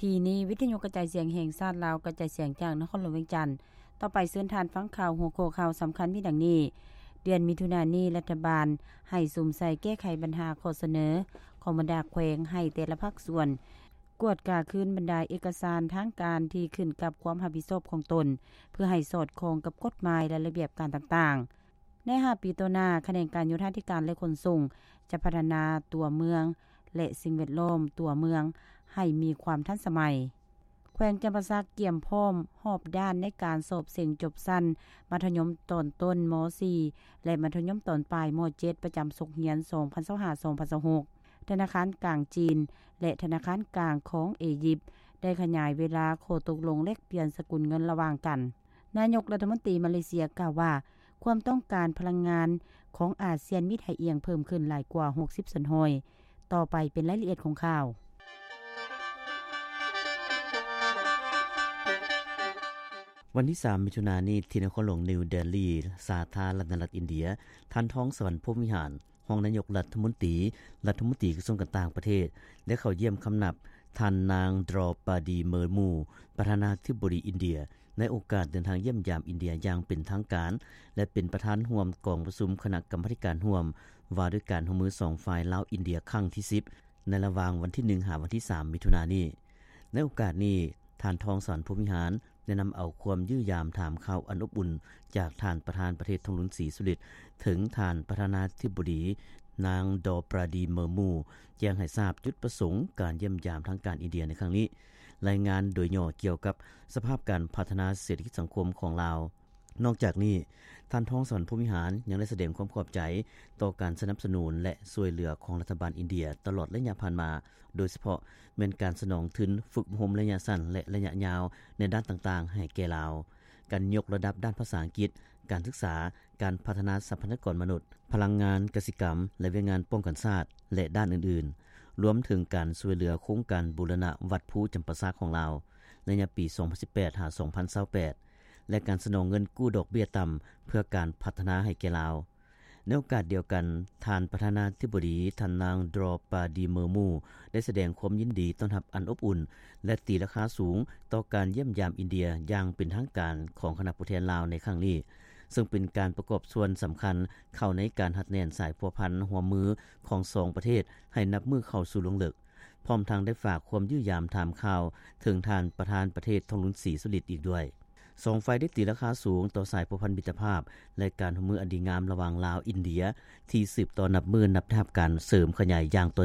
ທີ່ນີ້ ວິທະຍຸກະຈາຍສຽງແຫ່ງຊາດລາວ ກະຈາຍສຽງຈາກນະຄອນຫຼວງວຽງຈັນ. ຕໍ່ໄປເຊີນທ່ານຟັງຂ່າວ. ຫົວຂໍ້ຂ່າວສຳຄັນມີດັ່ງນີ້: ເດືອນມິຖຸນານີ້ ລັດຖະບານໃຫ້ສຸມໃສ່ແກ້ໄຂບັນຫາຂໍ້ສະເໜີຂອງບັນດາແຂວງ ໃຫ້ແຕ່ລະພາກສ່ວນກວດກາຄືນບັນດາເອກະສານທາງການທີ່ຂຶ້ນກັບຄວາມຮັບຜິດຊອບຂອງຕົນ ເພື່ອໃຫ້ສອດຄ່ອງກັບກົດໝາຍ ແລະ ລະບຽບການຕ່າງໆ. ໃນຫ້າປີຕໍ່ໜ້າ, ຂະແໜງການໂຍທາທິການ ແລະ ຂົນສົ່ງ ຈະພັດທະນາຕົວເມືອງ ແລະ ສິ່ງແວດລ້ອມຕົວເມືອງໃຫ້ມີຄວາມທັນສະໄໝ. ແຂວງຈຳປາສັກກຽມພ້ອມຮອບດ້ານໃນການສອບເສັງຈົບຊັ້ນມັດທະຍົມຕອນຕົ້ນ ມໍສີ່ ແລະ ມັດທະຍົມຕອນປາຍ ມໍເຈັດ ປະຈຳສົກຮຽນ ສອງພັນຊາວຫ້າ ສອງພັນຊາວຫົກ. ທະນາຄານກາງຈີນ ແລະ ທະນາຄານກາງຂອງເອຢິບ ໄດ້ຂະຫຍາຍເວລາຂໍ້ຕົກລົງແລກປ່ຽນສະກຸນເງິນລະຫວ່າງກັນ. ນາຍົກລັດຖະມົນຕີມາເລເຊຍກ່າວວ່າ ຄວາມຕ້ອງການພະລັງງານຂອງອາຊຽນມີທ່າອ່ຽງເພີ່ມຂຶ້ນຫຼາຍກວ່າ ຫົກສິບສ່ວນຮ້ອຍ. ຕໍ່ໄປເປັນລາຍລະອຽດຂອງຂ່າວ. ວັນທີສາມ ມິຖຸນານີ້ ທີ່ນະຄອນຫຼວງນິວເດລີ ສາທາລະນະລັດອິນເດຍ, ທ່ານ ທອງສະຫວັນ ພົມວິຫານ ຮອງນາຍົກລັດຖະມົນຕີ, ລັດຖະມົນຕີກະຊວງການຕ່າງປະເທດ ໄດ້ເຂົ້າຢ້ຽມຄຳນັບທ່ານນາງ ດຣໍປາດີ ເມີມູ ປະທານາທິບໍດີອິນເດຍ ໃນໂອກາດເດີນທາງຢ້ຽມຢາມອິນເດຍຢ່າງເປັນທາງການ ແລະ ເປັນປະທານຮ່ວມກອງປະຊຸມຄະນະກຳມາທິການຮ່ວມ ວ່າດ້ວຍການຮ່ວມມືສອງຝ່າຍລາວ-ອິນເດຍ ຄັ້ງທີສິບ ໃນລະຫວ່າງວັນທີໜຶ່ງ ຫາວັນທີສາມ ມິຖຸນານີ້. ໃນໂອກາດນີ້, ທ່ານ ທອງສະຫວັນ ພົມວິຫານ ໄດ້ນຳເອົາຄວາມຢ້ຽມຢາມຖາມຂ່າວອັນອົບອຸ່ນຈາກທ່ານປະທານປະເທດ ທອງລຸນ ສີສຸລິດ ເຖິງທ່ານປະທານາທິບໍດີ ນາງ ດໍປາດີ ເມີມູ ແຈ້ງໃຫ້ຊາບຈຸດປະສົງການຢ້ຽມຢາມທາງການອິນເດຍໃນຄັ້ງນີ້, ລາຍງານໂດຍຫຍໍ້ກ່ຽວກັບສະພາບການພັດທະນາເສດຖະກິດສັງຄົມຂອງລາວ. ນອກຈາກນີ້, ທ່ານ ທອງສະຫວັນ ພົມວິຫານ ຍັງໄດ້ສະແດງຄວາມຂອບໃຈຕໍ່ການສະໜັບສະໜູນ ແລະ ຊ່ວຍເຫຼືອຂອງລັດຖະບານອິນເດຍຕະຫຼອດໄລຍະຜ່ານມາ, ໂດຍສະເພາະແມ່ນການສະໜອງທຶນຝຶກອົບຮົມໄລຍະສັ້ນ ແລະ ໄລຍະຍາວໃນດ້ານຕ່າງໆໃຫ້ແກ່ລາວ, ການຍົກລະດັບດ້ານພາສາອັງກິດ, ການສຶກສາ, ການພັດທະນາຊັບພະຍາກອນມະນຸດ, ພະລັງງານ, ກະສິກຳ ແລະ ວຽກງານປ້ອງກັນຊາດ ແລະ ດ້ານອື່ນໆ, ລວມເຖິງການຊ່ວຍເຫຼືອໂຄງການບູລະນະວັດພູຈຳປາສັກຂອງລາວ ໄລຍະປີສອງພັນສິບແປດ ຫາ ສອງພັນຊາວແປດ ແລະ ການສະໜອງເງິນກູ້ດອກເບ້ຍຕ່ຳເພື່ອການພັດທະນາໃຫ້ແກ່ລາວ. ໃນໂອກາດດຽວກັນ, ທ່ານປະທານາທິບໍດີ ທ່ານນາງ ດຣໍປາດີ ເມີມູ ໄດ້ສະແດງຄວາມຍິນດີຕ້ອນຮັບອັນອົບອຸ່ນ ແລະ ຕີລາຄາສູງຕໍ່ການຢ້ຽມຢາມອິນເດຍຢ່າງເປັນທາງການຂອງຄະນະຜູ້ແທນລາວໃນຄັ້ງນີ້, ເຊິ່ງເປັນການປະກອບສ່ວນສຳຄັນເຂົ້າໃນການຮັດແໜ້ນສາຍພົວພັນຮ່ວມມືຂອງສອງປະເທດໃຫ້ນັບມື້ເຂົ້າສູ່ລວງເລິກ. ພ້ອມທັງໄດ້ຝາກຄວາມຢ້ຽມຢາມຖາມຂ່າວເຖິງທ່ານປະທານປະເທດ ທອງລຸນ ສີສຸລິດ ອີກດ້ວຍ. ສອງຝ່າຍໄດ້ຕີລາຄາສູງຕໍ່ສາຍພົວພັນມິດຕະພາບ ແລະ ການຮ່ວມມືອັນດີງາມລະຫວ່າງລາວ-ອິນເດຍ ທີ່ສືບຕໍ່ນັບມື້ນັບໄດ້ຮັບການເສີມຂະຫຍາຍຢ່າງຕໍ່